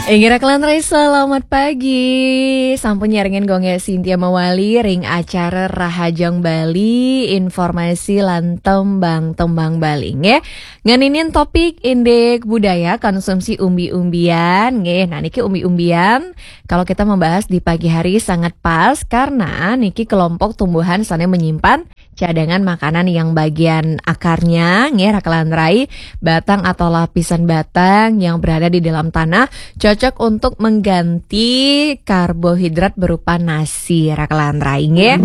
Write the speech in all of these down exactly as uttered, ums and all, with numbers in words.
Inggih raka lan rai, selamat pagi. Sampun nyarengin Gung Gé Sintia Mawali ring acara Rahajeng Bali, informasi lan tembang-tembang Bali, nggih. Ngeninin topik indik budaya konsumsi umbi-umbian, nggih. Nah, niki umbi-umbian, kalau kita membahas di pagi hari sangat pas karena niki kelompok tumbuhan sane menyimpan cadangan makanan yang bagian akarnya, nggih, raka lan rai, batang atau lapisan batang yang berada di dalam tanah, cocok untuk mengganti karbohidrat berupa nasi, raka lan rai, nggih.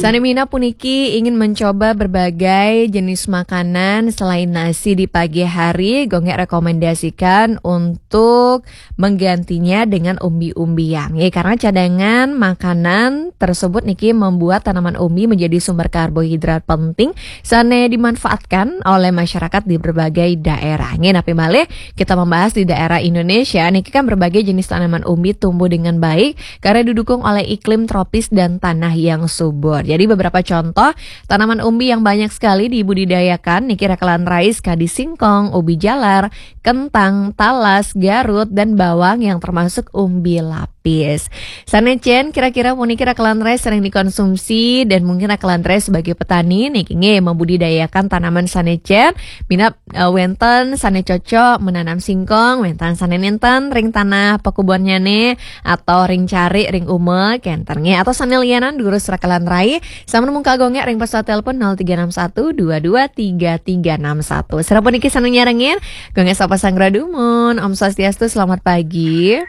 Sane minab puniki ingin mencoba berbagai jenis makanan selain nasi di pagi hari, Gung Gé rekomendasikan untuk menggantinya dengan umbi-umbian. Ya, karena cadangan makanan tersebut niki membuat tanaman umbi menjadi sumber karbohidrat penting sane dimanfaatkan oleh masyarakat di berbagai daerah. Nggih, napi malih kita membahas di daerah Indonesia niki kan berbagai jenis tanaman umbi tumbuh dengan baik karena didukung oleh iklim tropis dan tanah yang subur. Jadi beberapa contoh tanaman umbi yang banyak sekali dibudidayakan niki raka lan rai, kadi singkong, ubi jalar, kentang, talas, garut, dan bawang yang termasuk umbi lapis. Sane cen kira-kira puniki raka lan rai sering dikonsumsi dan mungkin raka lan rai sebagai petani niki nggih membudidayakan tanaman sane cen minab, eh, wenten sane cocok menanam singkong, wenten sane nenten ring tanah pekubonnyane atau ring carik ring uma kenten nggih atau sane lianan durus raka lan rai sampun mungkal Gung Gé ring pesawat telepon nol tiga enam satu dua dua tiga tiga enam satu. Sampun niki sane nyarengin Gung Gé sapa sanggra dumun. Om Swastiastu, selamat pagi.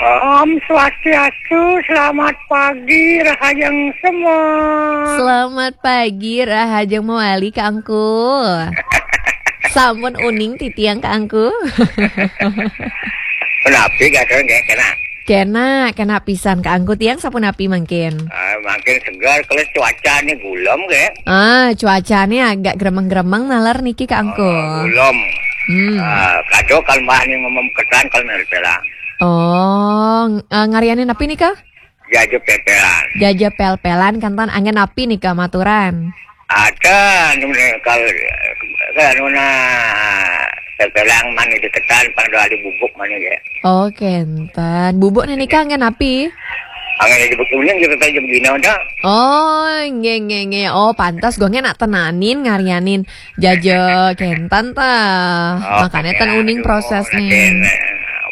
Om Swastiastu, selamat pagi, Rahajeng semua. Selamat pagi, Rahajeng Mawali, Kak Angku. Sampun uning titiang, Kak Angku. Punapi, Kak, nggih, kena? Kena, kena pisan, Kak Angku. Tiang sapunapi mangkin? Ah, mangkin segar, kalau cuaca ni gulem, nggih. Ah, cuacane agak gremeng-gremeng naler niki, Kak Angku. Oh, gulem. Hmm. Ah, kado kalau mbah ni ngomong ketan kalau merpela. Oh, ng-, eh, ngaryanin napi nika? Jaja pel-pelan. Jaja pel-pelan, kanten anggen napi nika maturan? Ada, anu, kalau, kalau anu, nah, pel-pelan mani deketan, pada ada bubuk mani, ya. Oh, kenten. Bubuk nika anggen napi? Anggen ada bubuk kuning, kita tahu jam gina, dah. Oh, nggih, nggih, nggih. Oh, pantes Gung Gé nak tenanin ngaryanin jaja kenten ta. Oh, makanya ten uning proses nih.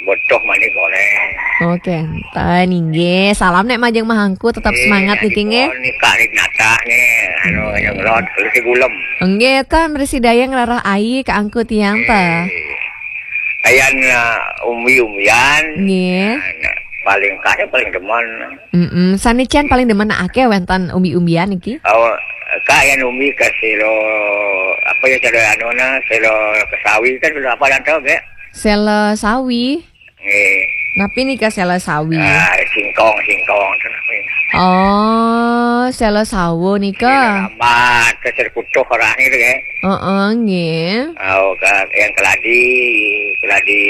Botoh mani goreng. Oh, kenten, inggih. Salam nek majeng mahangku, tetap semangat niki, nggih. Nika nih nata nih, anu, yang lot, kalau si gulem. Nggih, ten bersidaya ngrereh ai Kak Angku tiang ta. Ayan, eh, umbi-umbian. Nggih. Nah, paling kaya paling demen. Mm-mm. Sane cen paling demen ake wenten umbi-umbian niki? Oh, kaya umbi ke selo, apa ya, cara anu na, selo kesawi kan, selo apa dan tahu, Gek? Selo sawi. Nggih. Napi nika selo sawi? Ah, singkong, singkong tu napi. Oh, selo sawo nika. Selo rambat, ke selo kutuh orang itu, Gek. Heeh, nggih. Oh, ke, yang keladi, keladi,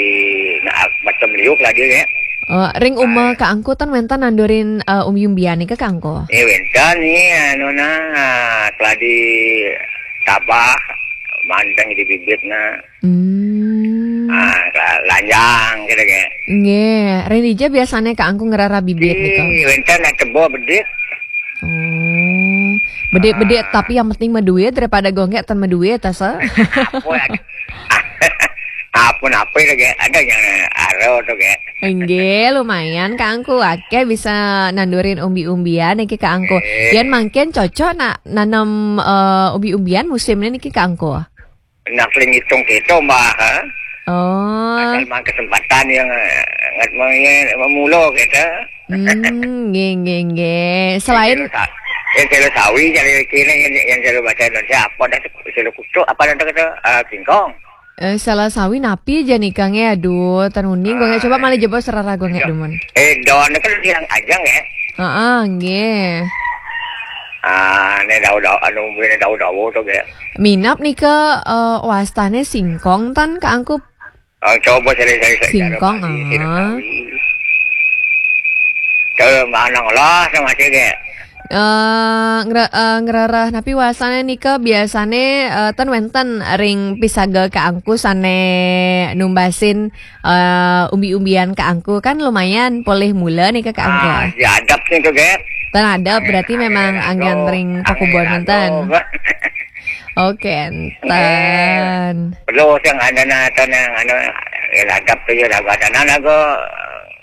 nah, macam liu keladi, Gek. Oh, ring uma Kak Angku ten wenten nandurin, eh, umbi-umbian nika, Kak Angku? Eh, wenten ni, anu, nah, keladi tabah, manteng di bibit, nah. Hmm. Ah, la-, lanjang, gitu, Gek. Nggih, ring dija biasane Kak Angku ngrereh bibit nika? Eh, wenten nak tebo bedik. Oh. Bedik-bedik, tapi yang penting maduit daripada Gung Gé ten maduit, asa. Apa ya? Apa-apa lagi? Ada yang aro tu, Gek. Nggih, lumayan Kak Angku. Ake bisa nandurin umbi-umbian niki Kak Angku. Eh. Yen mangkin cocok nak nanem, eh, umbi-umbian musim ni niki Kak Angku? Nak paling hitung kita, Mbak, ha? Oh. Asal mang kesempatan yang, eh, ngat meng-, memula kita. Hmm, nggih, nggih, nggih. Selain yang selo sa-, yang selo sawi, yang kini, yang, yang selo bahasa Indonesia, apa dah tu? Selo kutuk, apa dah tu kata? Ah, singkong. Eh, selo sawi napi ja nika nggih? Aduh, ten uning Gung Gé, coba malih jebos rereh Gung Gé dumun. Eh, daun kan yang ajang ya? Heeh, nggih. Ah, ni daun-daun, anu, ni daun-daun tu, Gek. Minab nika, eh, wastane singkong ten Kak Angku? Ah, coba cari-cari, cari singkong, cari ah. Ke mana lah sama si, Gek? Eh, ngre- eh, ngrereh napi wasane nika biasane, eh, ten wenten ring pisaga Kak Angku sane numbasin, eh, umbi-umbian Kak Angku kan lumayan polih mula nika Kak Angku. Ah, ya adep nika, Gek. Ten adep berarti memang anggen ring pakubon wenten. Oke, enten. Perlu sing ada na, ada na, anu, ya adep tu ya lagu ada na lagu,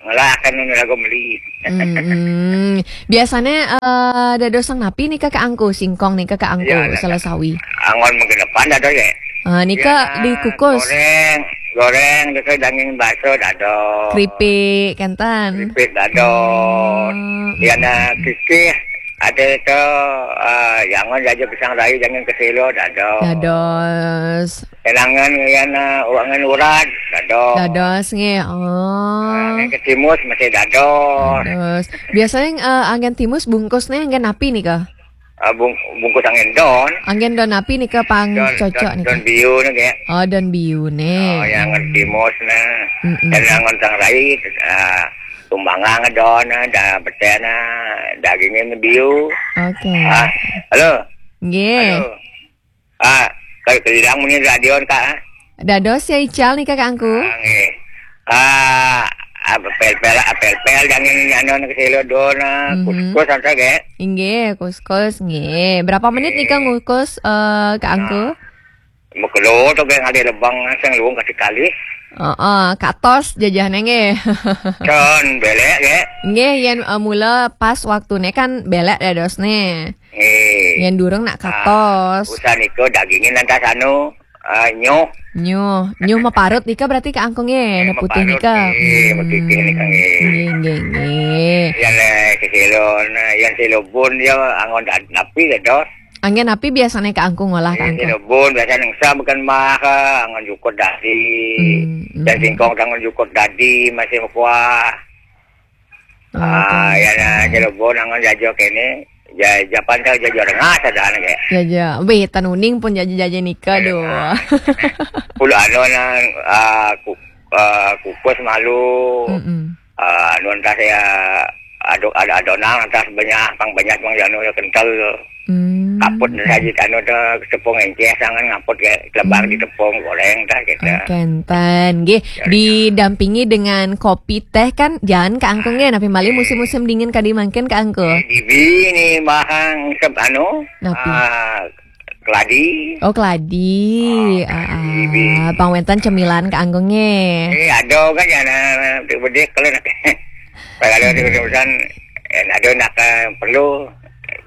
ngelah kan lagu meli. Hmm, biasanya, eh, dados napi nika Kak Angku, singkong nika Kak Angku, ya, sela sawi. Anggon menggenepan ada ya. Ah, nika ya, dikukus. Goreng, goreng, nika daging bakso dados. Keripik, kenten. Keripik dados. Hmm. Ya na kikih, ada itu, eh, ya anggon jaja pisang rayu, daging keselo dados. Dados. Elangan ya na uangan urad dados. Dados nggih. Oh. Angin ketimus masih dados. Dados. Biasanya, eh, angin timus bungkusnya angin napi nika? Ah, bung- bungkus angin don. Angin don napi nika pang cocok nika? Don biu nika. Oh, don biu nih. Oh, yang angin timus nah. Mm-mm. Dan angin tang rai, ah, tumbangang don, ah, da betena, dagingnya biu. Oke. Ah, halo. Nggih. Halo. Ah, kalau kelidang muni radio, Kak. Dados ya ical nih, Kak Angku. Ah, nggih. Ah, apa pel-pel, apa pel-pel, jangan anu keselo don, ah, mhm, kuskus anta, Gek. Inggih, kuskus, nggih. Berapa menit nih, Kak, ngukus, eh, Kak Angku? Nah, mekelo tu, Gek, ada lebang sing luung kasih kali. Heeh, katos jajahnya nggih. Con, belek, Gek. Nggih, yen, eh, mula pas waktune kan belek dadosne. Nggih. Yen durung nak katos. Ah, usan iku dagingin lantas anu, ah, nyuh. Nyuh, nyuh meparut nika berarti Kak Angku nggih, eh, putih meparut nika. Nggih, hmm, putih nika nggih. Nggih, nggih, nggih. Yen, eh, seselo, nah, yen selo bun dia anggon da- napi ya, Dos? Anggen napi biasane Kak Angku ngolah, Kak Angku? Eh, selo bun biasa nengsa bukan mah, anggon jukut dadi. Hmm, hmm. Dan singkong anggon jukut dadi masih mekuah. Ah, ya, nah, Cirebon, anggon jajo kene. Ja- japan tau jajo rengah sadana, Gek. Jaja. Wih, tan uning pun jaja-jaja nika, aduh. Pula anu na, ah, ku- ah, kukus malu. Mm-mm. Ah, anu entah saya aduk ada adonan entah banyak pang banyak pang anu ya kental. Hmm. Kaput saja anu tu tepung enceh sangan ngaput ya lebar di tepung goreng dah kita. Oke, enten. Nggih, didampingi dengan kopi teh kan, jangan Kak Angku nggih, napi malih musim-musim dingin kadi mangkin Kak Angku. Ibi ni mahang sep anu, napi? Ah, keladi. Oh, keladi. Oh, ah, keladi, ah, ibi. Pang wenten cemilan Kak Angku nggih. Eh, ada kan ya, nah, bedik kalau nak. Kalau ada urusan, eh, ada nak, eh, perlu.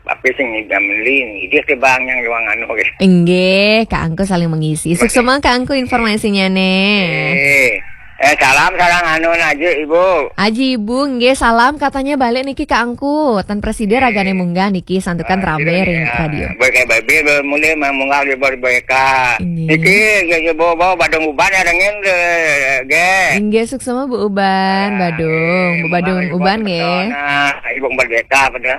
Tapi sing ngidam meli, ngidih ke bang yang ruang anu gitu. Inggih, Kak Angku saling mengisi. Suksema Kak Angku informasinya nih. Eh, eh, salam sareng anu Aji Ibu. Aji Ibu, nggih salam katanya balik niki Kak Angku. Tan presida ragane munggah niki santukan rame ring radio. Baik, baik, baik, mulai munggah di bawah beka. Inggih. Niki, nggih, nggih, bawa, bawa badung uban ya dengin, nggih. Inggih, suksema Bu Uban, badung. Bu badung uban nggih. Nah, Ibu Merdeka pada.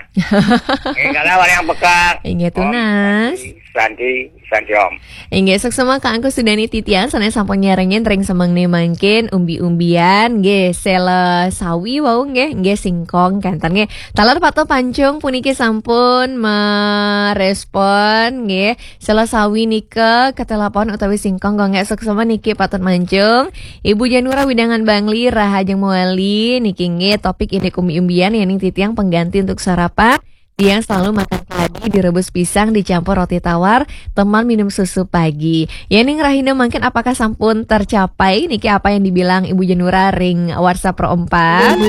Nggih, kalau orang yang peka. Inggih, tunas. Santi, Santi Om. Inggih, suksema Kak Angku Sudani titiang, sanes sampun nyarengin ring semeng ne mangkin umbi-umbian, nggih, sela sawi wau, nggih, nggih, singkong, kenten, nggih. Taler Pato Pancung puniki sampun merespon, nggih. Sela sawi nika ketelepon utawi singkong gonggek suksema niki patut mancung. Ibu Janura Widangan Bangli, Rahajeng Mawali, niki nggih topik indik umbi-umbian yening titiang pengganti untuk sarapan. Tiang selalu makan keladi direbus pisang dicampur roti tawar, teman minum susu pagi. Yening rahina mangkin apakah sampun tercapai niki apa yang dibilang Ibu Janura ring WhatsApp Pro empat?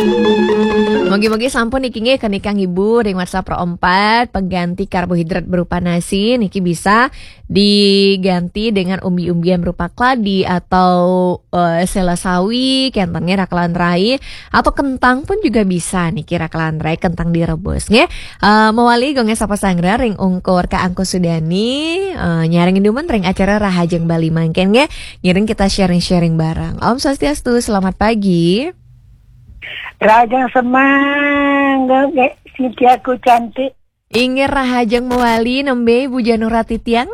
Mogi-mogi sampun niki nggih kenikang Ibu ring WhatsApp Pro empat, pengganti karbohidrat berupa nasi niki bisa diganti dengan umbi-umbian berupa keladi atau, eh, sela sawi, kenten nggih rakelan rai, atau kentang pun juga bisa niki rakelan rai, kentang direbus nggih. Eh, mawali gonggeng sapa sanggra ring ungkur Kak Angku Sudani, eh, nyarengin dumun ring acara Rahajeng Bali mangkin nggih. Ngiring kita sharing-sharing bareng. Om Swastiastu, selamat pagi. Rahajeng semeng, nggih, Sintiaku cantik. Inggih rahajeng mawali nembé Ibu Janura titiang.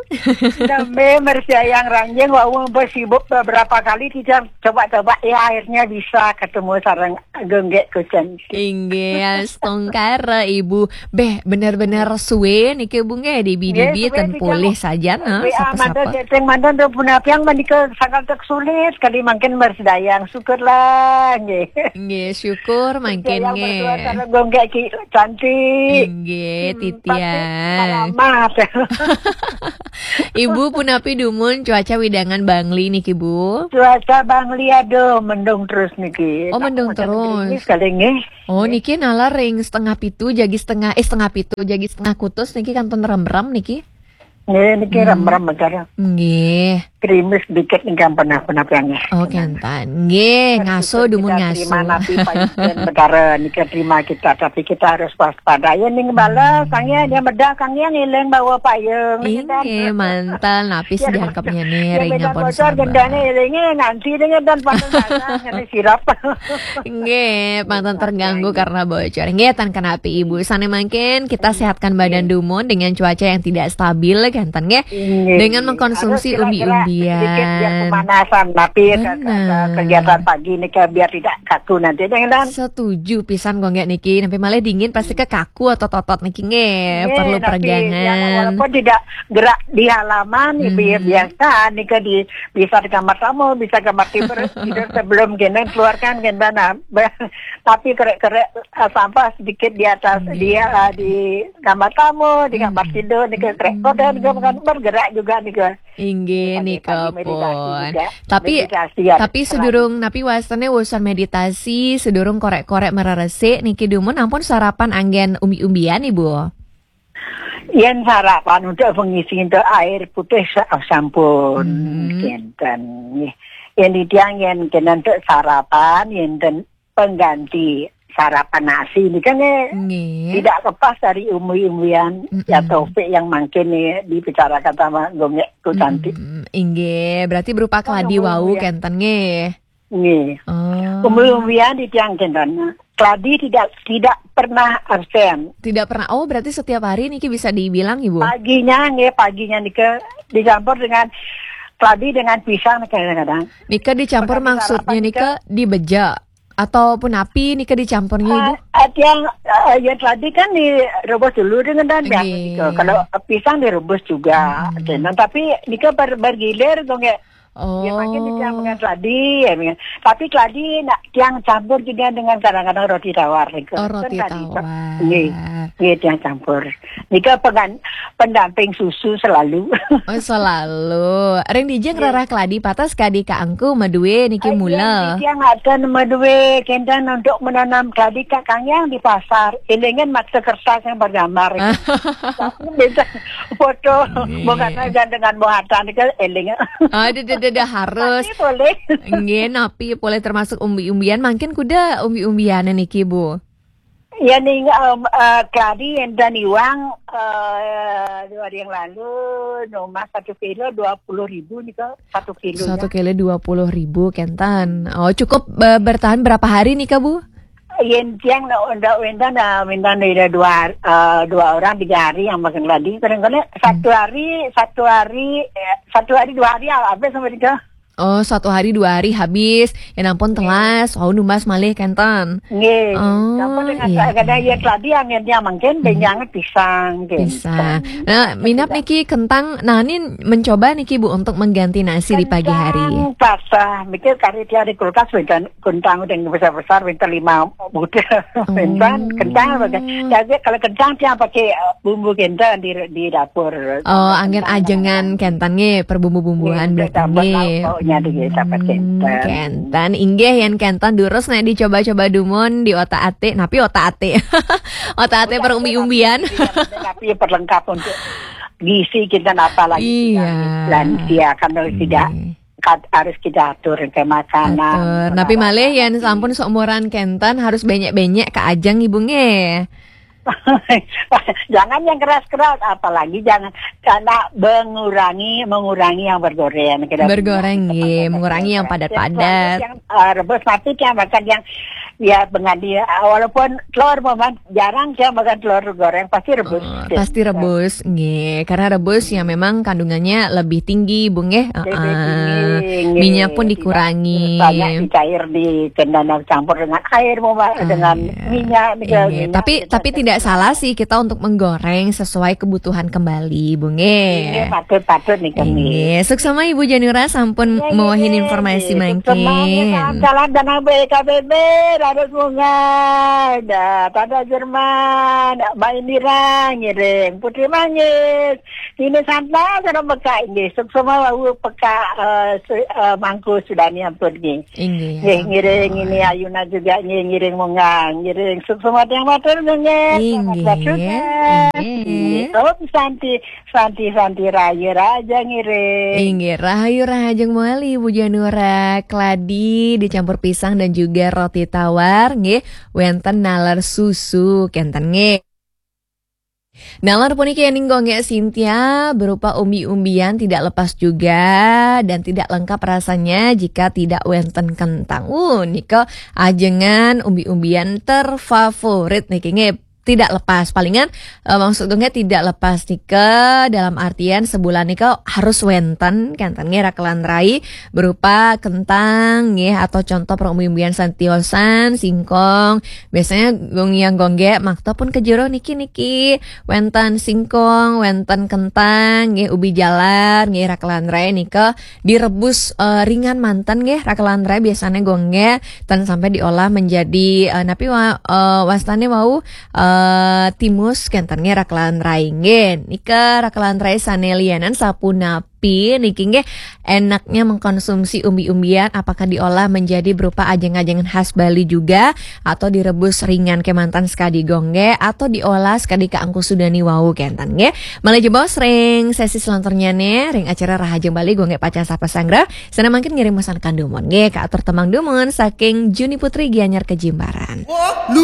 Nembé mersiayang ranjing wau sibuk beberapa kali titiang coba-coba ya akhirnya bisa ketemu sareng Gung Gék Kucén. Inggih, astungkara Ibu. Béh, bener-bener suwe niki Bu nggih, dibi-dibi ten polih saja nah, sapa-sapa. Manten chatting manten tuh punapiang menika sangat sulit kali mangkin mersiayang syukurlah nggih. Nggih, syukur mangkin nggih. Gung Gék Ki Cantik. Nggih, titiang. Ibu punapi dumun cuaca wewidangan Bangli niki, Bu? Cuaca Bangli aduh mendung terus niki. Oh, mendung terus. Gerimis kali nggih. Oh, niki nalar ring setengah pitu jagi setengah eh setengah pitu jagi setengah kutus niki kantun remrem niki. Nggih, niki remrem acara. Nggih. Gerimis dikit nih kan pernah pernah piangnya. Oh, kenten. Nggih, ngaso dumun ngaso. Terima napi pancen betara nika terima kita, tapi kita harus waspada. Ya ning balas, kang ya dia medah kang ya ngiling bawa payung. Inggih, mantel napis diangkepnya nih ring ngampun bocor gendane ilingnya nanti dengan dan panas ngene sirap. Nggih, manten terganggu karena bocor. Nggih, tan kenapi Ibu. Sane mangkin kita sehatkan badan dumun dengan cuaca yang tidak stabil kenten nggih. Dengan mengkonsumsi umbi-umbian. Pemanasan tapi kegiatan pagi ini biar tidak kaku nanti dengan. Setuju pisan kok nggak niki. Nampi malih dingin pasti ke kaku atau totot niki nggih. Perlu peregangan. Walaupun tidak gerak di halaman, biasa nika di bisa di kamar tamu, bisa kamar tidur, tidur sebelum gini keluarkan gini nah. Tapi kerek-kerek sampah sedikit di atas dia di kamar tamu, di kamar tidur nika kerek kotor juga bukan bergerak juga nika. Inggih nika pun. Tapi tapi sedurung napi wastane urusan meditasi, sedurung korek-korek mereresik niki dumun ampun sarapan anggen umbi-umbian Ibu. Yen sarapan untuk pengisi untuk air putih sampun kenten nggih. Yen tiang yen kena untuk sarapan yen ten pengganti sarapan nasi ini kan eh, tidak lepas dari umbi-umbian ya Taufik yang mangkin nih dibicarakan sama Gung Gék Kucén. Inggih, berarti berupa keladi wau kenten nggih. Nggih. Umbi-umbian di tiang kenten. Keladi tidak tidak pernah absen. Tidak pernah. Oh, berarti setiap hari niki bisa dibilang Ibu. Paginya nggih, paginya nika dicampur dengan keladi dengan pisang kadang-kadang. Nika dicampur maksudnya nika dibeja atau punapi nika dicampurnya Ibu? Uh, yang uh, ya keladi kan direbus dulu dengan dan biasa nika. Kalau pisang direbus juga. Nah, tapi nika ber, bergilir kok nggak Oh. Ya, mungkin tiang dengan keladi, ya, tapi keladi nak tiang campur juga dengan kadang-kadang roti tawar. Oh, roti tawar. Nggih, nggih tiang campur. Nika pengan, pendamping susu selalu. Oh, selalu. Ring dija ngrereh keladi patas kadi kaangku madue niki mula. Tiang akan madue kenten untuk menanam keladi kak kangyang di pasar. Elingan maksa kertas yang bergambar. Tapi beda foto bukan aja dengan muatan ke eling. Aduh, dah, dah, dah, harus. Tapi boleh. Nggih, napi boleh termasuk umbi-umbian. Mungkin kuda umbi-umbian niki, Bu. Ya ning um, uh, keladi yang dan iwang uh, dua hari yang lalu nomor satu kilo dua puluh ribu nih kok satu kilo satu kilo dua puluh ribu kenten. Oh, cukup uh, bertahan berapa hari nih kak Bu? Yen tiang nak undak wendan nah wendan ada dua uh, dua orang tiga hari yang makan keladi kadang-kadang satu hari satu hari eh, satu hari dua hari habis sama tiga. Oh, satu hari dua hari habis. Ya ampun telas. Oh, numbas malih kenten. Nggih. Oh, kadang iya. Kadang ya keladi angin dia mungkin benjangan pisang gitu. Pisang. Nah, minap niki kentang. Nah, ini mencoba niki Bu untuk mengganti nasi di pagi hari. Pasah, mikir kari tiada kulkas benjan kentang udah besar-besar minta lima butir. Kentang, kentang. Jadi kalau kentang dia pakai bumbu kentang di di dapur. Oh, angin ajengan kentang nggih, perbumbu-bumbuan berarti nggih. Kentang inggih yen kentang durus nek dicoba-coba dumun di otak atik, napi otak atik. Otak atik perumbi-umbian. Tapi perlengkap untuk gizi kita apa lagi lansia kan kalau tidak harus kita atur ke makanan. Tapi malih yen sampun seumuran kenten harus banyak-banyak ke ajeng Ibu nggih. Jangan yang keras-keras, apalagi jangan karena mengurangi mengurangi yang bergoreng. Bergoreng, iya, mengurangi yang padat-padat. Yang uh, rebus mati yang makan yang Ya, dengan dia, walaupun telur, Mama, jarang saya makan telur goreng, pasti rebus. Oh, pasti rebus, nggih. Karena rebus ya memang kandungannya lebih tinggi, Bu, nggih. Lebih Heeh. tinggi, nggih. Minyak pun Tidak dikurangi. banyak dicair di kendana campur dengan air, Mama, dengan Iya. minyak, Iya, minyak, tapi minyak, tapi minyak. Tidak salah sih kita untuk menggoreng sesuai kebutuhan kembali, Bu, Nggih, nggih. Patut-patut nih kami. Nggih, suksma Ibu Janura sampun Nggih, mawahin nggih, informasi nggih. Suksma, nggih, mangkin. salam-salam dan B K B B, Raden Bunga, dah, Tata Jerman, Mbak Indira, ngiring, Putri Manggis, ini Santa, sareng peka, nggih, suksma wau peka, eh, su- eh, Mangku Sudani ampun, nggih. Inggih. Nggih, ngiring ini Ayuna juga, nggih, ngiring Munga, ngiring suksma tiang matur, nggih. Inggih. Selamat juga. Inggih. Nggih, Om Santi, Santi, Santi, Rahayu Raja, ngiring. Inggih, Rahayu Rahajeng Mali, Bu Janura, keladi dicampur pisang dan juga roti tawar, nggih, wenten naler susu, kenten, nggih. Naler puniki ning Gonggek Sintia berupa umbi-umbian tidak lepas juga dan tidak lengkap rasanya jika tidak wenten kentang. Uh, nika ajengan umbi-umbian terfavorit niki, nggih. Tidak lepas, palingan, eh, maksud Gonggek tidak lepas nika dalam artian sebulan nika harus wenten, kenten, nggih, rakelan rai berupa kentang, nggih, atau contoh perumbi-umbian santiosan, singkong. Biasanya Gonggek, Gonggek makta pun ke jero niki-niki, wenten singkong, wenten kentang, nggih, ubi jalar, nggih, rakelan rai nika direbus, eh, ringan manten, nggih, rakelan rai biasanya, Gonggek, ten sampai diolah menjadi, eh, napi wa, eh, wastane wau, eh, timus, kenten, nggih, rakelan rai, nggih. Nika rakelan rai sane lianan sapunapi niki, nggih, enaknya mengkonsumsi umbi-umbian, apakah diolah menjadi berupa ajeng-ajengan khas Bali juga atau direbus ringan kemanten sekadi, Gonggek, atau diolah sekadi kaangku Sudani wau, kenten, nggih. Malih jebos ring sesi selanturnya nih, ring acara Rahajeng Bali, Gonggek Pacan Sapa Sanggra. Sana mangkin ngiring pesan kandumun, nggih, kaatur tembang dumun saking Juni Putri Gianyar Kejimbaran.